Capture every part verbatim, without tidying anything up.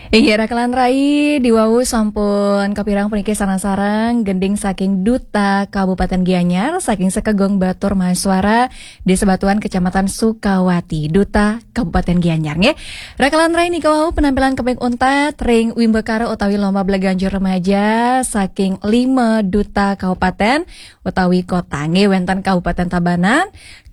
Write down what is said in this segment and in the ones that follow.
Inggih, rakelan rai, diwau sampun kapireng puniki sareng-sareng gending saking Duta Kabupaten Gianyar, saking Sekegong Batur Mahasuara, Desa Batuan, Kecamatan Sukawati, Duta Kabupaten Gianyar, nggih. Rakelan rai, nika wau penampilan kaping untat ring wimbakara utawi lomba belaganjur remaja saking lima duta kabupaten utawi kota, nggih, wenten Kabupaten Tabanan,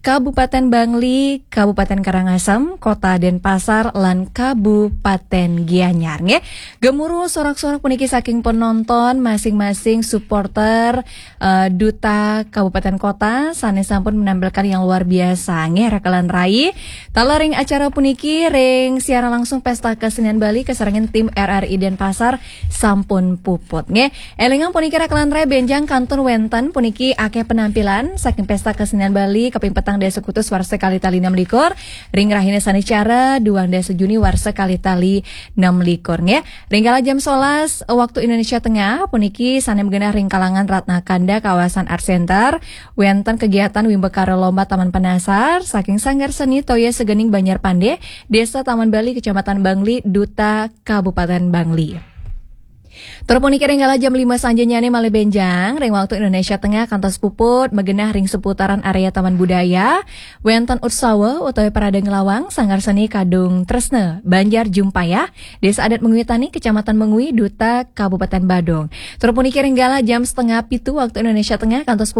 Kabupaten Bangli, Kabupaten Karangasem, Kota Denpasar, lan Kabupaten Gianyar, nggih. Gemuruh sorak-sorak puniki saking penonton, masing-masing supporter, eh, duta kabupaten kota sane sampun menampilkan yang luar biasa, nggih, rakelan rai. Taler ring acara puniki, ring siaran langsung Pesta Kesenian Bali kasarengin tim R R I Denpasar sampun puput, nggih. Elingang puniki, rakelan rai, benjang kantun wenten puniki akeh penampilan saking Pesta Kesenian Bali kaping petang dasa Agustus warsa kalih tali enam likur, ring rahina Saniscara duang dasa Juni warsa kalih tali enam likur, nggih. Ring kala jam sebelas waktu Indonesia Tengah puniki sane magenah ring kalangan Ratna Kanda kawasan Art Center, wenten kegiatan wimbakara lomba Taman Penasar saking Sanggar Seni Toya Segening Banjar Pande, Desa Taman Bali, Kecamatan Bangli, Duta Kabupaten Bangli. Tur puniki ring kala jam lima sanjanyane malih benjang, ring waktu Indonesia Tengah kantos puput, magenah ring seputaran area Taman Budaya, wenten utsawa utawi parade nglawang Sanggar Seni Kadung Tresna, Banjar Jumpayah, Desa Adat Mengwi Tani, Kecamatan Mengwi, Duta Kabupaten Badung. Tur puniki ring kala jam setengah pitu waktu Indonesia Tengah kantos